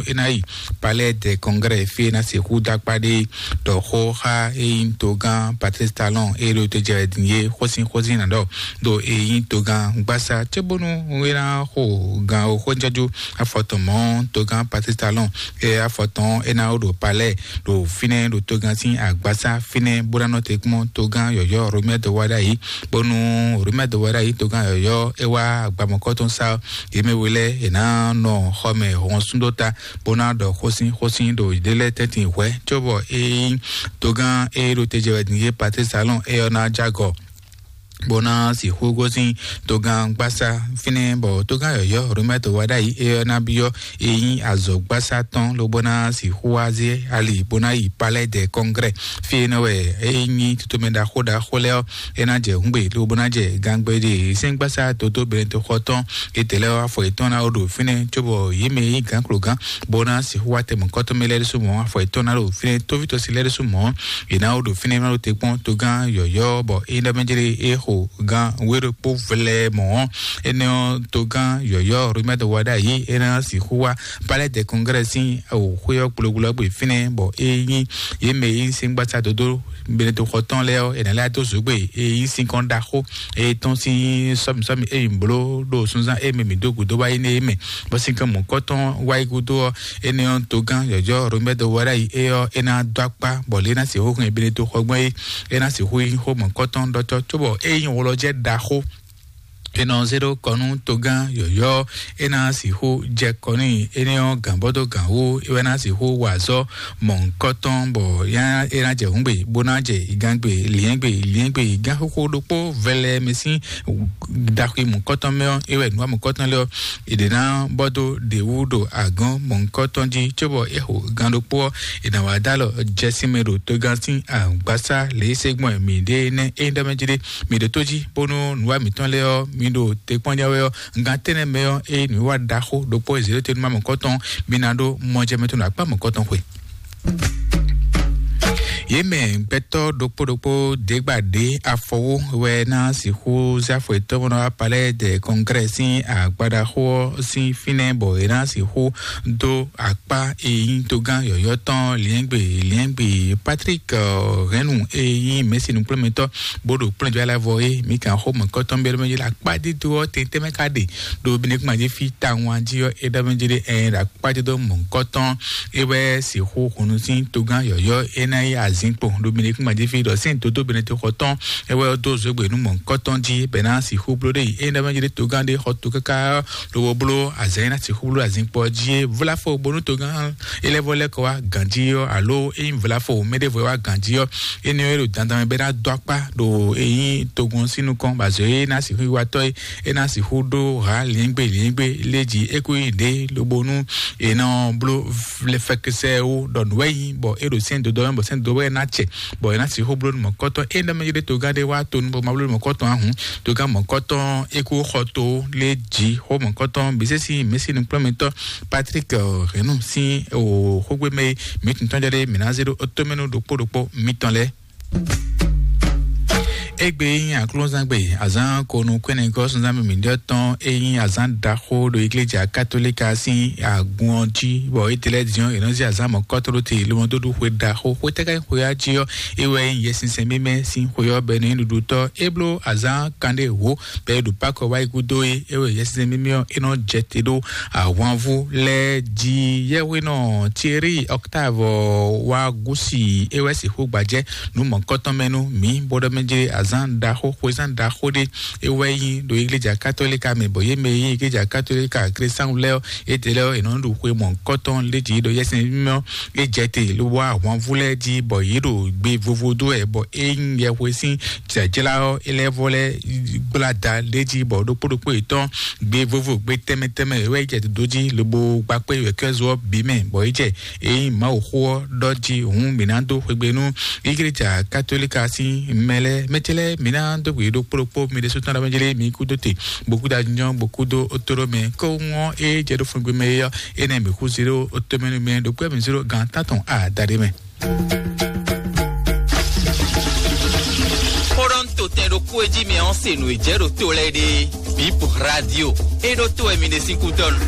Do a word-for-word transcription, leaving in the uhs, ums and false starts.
É ná yi Palais des Congrès fí é ná sixú dó akpá ɖé ɖɔ xó xá é nyí togán Patrice Talon é ɖo te jɛ din é xósin xósin ná ɖɔ ɖo é nyí togán gbásá cé bónú é ná xo gan o xó jájú afɔtɔn mɔ̌ togán Patrice Talon é afɔtɔn é ná ɖo Palais ɖo fínɛ́ ɖo togán sín agbásá fínɛ́ bó ná nɔ te kpɔ́n togán yɔ̌yɔ́ Romuald Wadagni bónú Romuald Wadagni togán yɔ̌yɔ́ é wá agbamɔkɔ́tɔn sá yě mɛ we lɛ́ɛ è nǎ nɔ xɔ mɛ hɔn súndó ta bó ná ɖɔ xósin xósin ɖo yěɖée lɛ́ɛ tɛ́ntin hwɛ̌ cóbɔ é nyí togán e ɖo te jɛ wɛ din yé Patrice Talon é ɔ́ ná jágɔ bó ná sixú gosín togán gbásá fínɛ́ bɔ togán yɔ̌yɔ́ Romuald Wadagni é ɔ́ ná byɔ́ é nyí azɔ̌gbásá tɔn lobo ná sixú wá zé ali bó ná yi Palais des Congrès fí é nɔ wɛ é nyí tutomɛ ɖaxó ɖaxó lɛ́ɛ ɔ́ é ná jɛ hǔngbe lobo ná jɛ gangbe ɖe sɛ́ngbásá dodó Benedikto xɔ tɔn é tɛ́ lɛ́ ɔ́ afɔ yětɔn ná wó ɖo fínɛ́ cóbɔ yě mɛ e nyí gǎnklogán bó ná sixú wá tɛ mɔ̌kɔ́tɔ́ mɛ lɛ́ɛ ɖésú mɔ̌ afɔ yětɔn ná ɖo fínɛ́ tóvítɔ́ si lɛ́ɛ ɖésú mɔ̌ yě ná wó ɖo fínɛ́ ná ɖo te kpɔ́n togán yɔ̌yɔ́ bɔ é ná mɛ jlé é xo gán wéɖokpó vlɛ́ mɔ̌ énɛ́ ɔ́ togán yɔ̌yɔ́ Romuald Wadagni é ná sixú wá Palais des Congrès sín xwé ɔ́ kplokplo ɔ́ gbe fínɛ́ bɔ é nyí yě mɛ e nyí sɛ́ngbásá dodó Benedikto xɔ tɔn lɛ́ɛ ɔ́, è nǎ lɛ́ dó zǒgbe e nyí sinkɔn ɖaxó e tɔn sín sɔ́mìsɔ́mì e mǐ bló ɖo sunzán e mɛ mǐ dó gǔdo wá yi nú é mɛ, bɔ sinkɔn mɔ̌kɔtɔn wá yi gúdo ɔ́, énɛ́ ɔ́, togán yɔ̌yɔ́ Romuald Wadagni é ɔ́, é ná dó akpá bɔ lě ná sixú hɛn Benedikto xɔ gbɔn é, é ná sixú nyí xó mɔ̌kɔtɔn ɖɔtɔ́ cóbɔ é nyí wlɔjɛ́ ɖaxó è nɔ zé ɖó kɔ nú togán yɔ̌yɔ́ é ná sixú jɛ kɔ n'i énɛ́ ɔ́ gǎn bɔ dó gǎn wú é wɛ ná sixú wa azɔ́ mɔ̌hunkɔtɔn bɔ é ná jɛ hǔngbe bó ná jɛ igangbe liɛ́ngbe liɛ́ngbe igán xóxó ɖokpó vɛlɛ mɛ sín ɖaxi mɔ̌hunkɔtɔn mɛ ɔ́ é wɛ nǔwa mɔ̌hunkɔtɔn lɛ́ɛ ɔ́ è ɖě ná bɔ dó ɖě wú ɖo agɔ̌n mɔ̌hunkɔtɔn jí cóbɔ é xo gán ɖokpó ɔ́ è nǎ wá dó alɔ jɛ sín mɛ ɖo togán sín agbásá lě e é se gbɔn mǐ ɖe nɛ́ é ɖɔ mɛ jí ɖé mǐ ɖo tó jí bónú nǔwa mǐtɔn lɛ́ɛ ɔ́ mi ɖo te kpɔ́n jɛ wɛ ɔ́, gan tɛ́nɛ mɛ ɔ́, eye nǔwiwa ɖaxó ɖokpó e zěɖótenúmá mɔ̌kɔtɔn mi ná ɖó mɔjɛmɛ tɔn ɖo akpá mɔ̌kɔtɔn xwe. Yě mɛ gbɛtɔ́ ɖokpó ɖokpó ɖěgbà ɖě afɔwó wɛ ná sixú zé afɔ yětɔn bó ná wá Palais des Congrès sín agbadaxó ɔ́ sín fínɛ́ bɔ è ná sixú dó akpá e nyí togán yɔ̌yɔ́ tɔn liɛ́ngbè liɛ́ngbè Patrick Hɛnnu e nyí mɛ̌si nukplɔ́nmɛtɔ́ bó ɖo kplɔ́njɔ́ alavɔ é mi kan xó mɔ̌kɔtɔn bɛ́ ɖɔmɛ yé le akpá dídó ɔ́ tɛntɛn mɛ ka ɖe ɖo binekuma jí fí tawun jí ɔ́ é ɖɔmɛ jí ɖe ɛ ɖo akpá dídó mɔ̌kɔtɔn é wɛ sixú hunu sín togán yɔ̌yɔ́ é ná yí azinkpo ɖo binekuma jí fí ɖɔ sɛ́n dodó benete xɔ tɔn é wɛ dó zogbe nú mɔ̌kɔtɔn jí bɛ́ ná sixú bló ɖe yi é ɖɔmɛ jí ɖe togán ɖé xɔ to káká lobo bló azǎn e ná sixú bló azinkpo ɔ́ jí é. Vlafo bónú togán élɛ́vɔ lɛ́ kɔ wá ganjí ɔ́ alo é nyí vlafo mɛɖěvo e wá ganjí ɔ́, énɛ́ ɔ́ é ɖo dandan mɛ bɔ é ná dó akpá ɖo é nyí togun ɔ́ sín nukɔn bɔ azɔ̌ e é ná sixú yi watɔ́ é é ná sixú ɖó hǎ liɛ́ngbé liɛ́ngbé lé jí é kú nyi ɖě lobo nú è nɔ bló fɛkɛsɛ wú ɖɔ nǔ wɛ nyí bɔ é ɖo sɛ́n dodó mɛ bɔ sɛ́n dodó wɛ ná cɛ bɔ è nǎ sixú bló nú mɔ̌kɔtɔn é nɛ́ mɛ yi ɖe togán ɖé wá to nú bɔ ma bló nú mɔ̌kɔtɔn ahun togán mɔ̌kɔtɔn é kú xɔ to lé jí xó mɔ̌kɔtɔn bǐ sésí mɛ̌si nukplɔ́nmɛtɔn Patrick Hɛnnu sín xógbémɛ e mǐ tun tɔn jɔ ɖé mǐ ná zé ɖó tómɛnu ɖokpó ɖokpó mitɔn lɛ́ɛ. Égbé nyí aklúnzán gbe azán konu kwɛ́nɛgɔ́ sunzán mǐmí ɖɔ tɔn é nyí azán ɖaxó ɖo igleja katolika sín agun ɔ́ jí bɔ étɛlɛ diɔn è nɔ zí azán mɔ̌kɔtɔn ɖó te lomɔdóɖu xwe ɖaxó xwetɛ́ ká nyí xwe ɔ́ jí ɔ́ é wɛ nyí yɛsinsɛn mímɛ́ sín xwe ɔ́ bɔ é nɔ nyí ɖuɖutɔ́ é bló azán kanɖé wǒ bɔ é ɖo Pakɔ wá yi gúdo é é wɛ yɛsinsɛn mímɛ́ ɔ́ é nɔ jɛ te ɖó ahwanvú lɛ́ɛ jí. Yɛhwenɔ Thierry Octave wá gúsi é wɛ sixú gbajɛ nú mɔ̌kɔtɔn mɛ nú mǐ bó ɖɔ mɛ jlé azán ɖaxó xwezán ɖaxó ɖé é wɛ nyí ɖo igleja katolika mɛ bɔ yě mɛ e nyí igleja katolika kristɛnu lɛ́ɛ ɔ́ étɛ́ lɛ́ɛ ɔ́ è nɔ ɖu xwe mɔ̌kɔtɔn lé jí ɖo yɛsɛn mímɛ́ ɔ́ é jɛ te ló wá ahwanvú lɛ́ɛ jí bɔ yě ɖo gbe vovo dó wɛ bɔ é nyí yɛhwe sín jlǎjlá ɔ́ é lɛ́ vɔ lɛ́ gbla da lé jí bɔ ɖokpó ɖokpó yětɔn gbe vovo gbe tɛnmɛ tɛnmɛ é wɛ jɛ dodó jí lobo gba kpé wɛ̌kɛ́zo ɔ́ bǐ mɛ bɔ é jɛ é nyí Mawu xó ɔ́ ɖɔ jí hǔn mǐ ná dó xwegbe nú igleja katolika sín mɛ lɛ́ɛ mɛ ce lɛ́ɛ mǐ ná dó gbe ɖokpó ɖokpó mi ɖésú tɔn ɖɔ mɛ jlé mi kú dó te bokú da nyɔ bokú dó otoro mɛ kó ŋɔ é jɛ ɖó fúngbé mɛ é ɔ́ énɛ́ mǐ kú zé ɖó otomɛ nú mɛ ɖokpó mǐ zé ɖó gan tántɔn adaɖé mɛ. Xó ɖɔ ń to tɛn ɖokpó e jí mɛ ɔ́ se nǔ e jɛ ɖo to lɛ́ɛ ɖe. Bip radio é ɖó to wɛ mi ɖe sín kútɔ́nu.